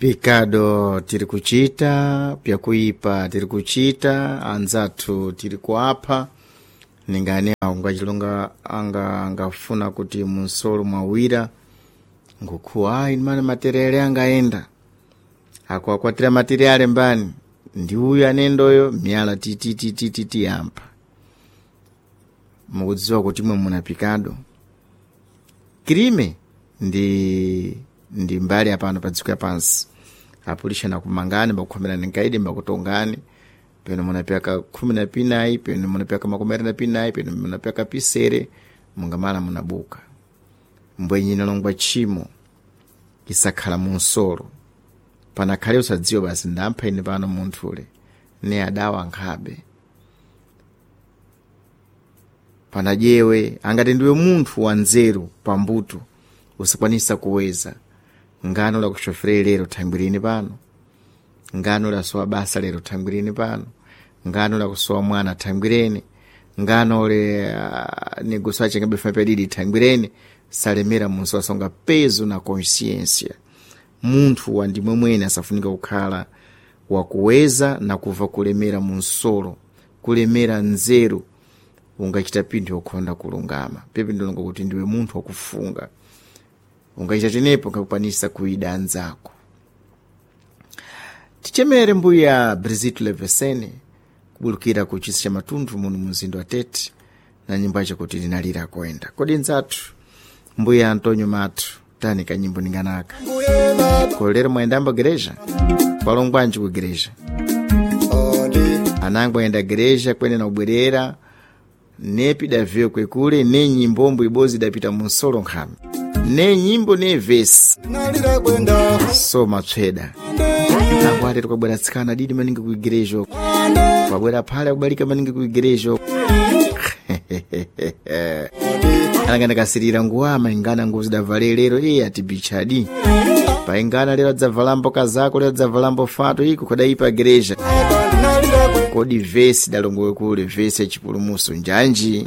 Pikado tiri kuchita, pyakuipa tiri kuchita, anzathu tiri kuapha. Ningani awo ngachilonga anga angafuna kuti munsolo mwawira ngukhuwa ayi mane materiale angaenda akuakwatira materiale mbani ndi uyu anendoyo miyala tititititi yampa mukudziwa kuti mwe muna pikado krime ndi mbali apano pa dziko yapansi apulishana kumangani bakukhomerani nkaidi mbakutongani peno munapyaka 14 peno munapyaka 28 peno munapyaka pisere mungamala munabuka mbwenyina longwa tchimo isakhala munsolo panakhale usadziwa basi ndampha ine pano munthule ne adawa nkhabe panajewe angati ndiwe munthu wanzeru pambuto usakwanisa kuweza ngano lakushofere lero thangwirini pano ngano lasowa basa lero thangwirini pano ngano lakusowa mwana thangwireni ngano le negoso achengabe funa thangwireni salemera munso asonga peso na consciência munthu wandimwe mwene asafunika kukhala wakuweza na kuva kulemera munsolo kulemera nzeru ungachita pinthu yokhonda kulungama pepe ndilonga kuti ndiwe munthu wakufunga ungachita tenepo ngakukwanisa kuida anzako tichemere mbuya Brigitte Levesene kubulukira ku chisi cha Matundu muno mumzinda wa Tete na nyimbo yacho kuti linalira koenda kodi nzathu mbuya Antonio Mathu tani kanyimbo ninganaka kolero mwayendambo gereja kwalongwanji ku gereja anango ayenda gereja kwene na ubwerera nepi daviyo kwekule ne nyimbombo ibozi idapita munsolo nkhami ne nyimbo ne vesi so matsweda nango atete kwabwera tsikana didi maningi ku igereja uko kwabwera phale akubalika maningi ku igereja uko ananga ndakasirira nguwama ingana nguvu zidavale lero iye ati bichadi paingana lero adzavalambo kazako lero adzavalambo fato iko kudaipa gereja kodi vesi dalongowe kule vesi yachipulumuso njanji.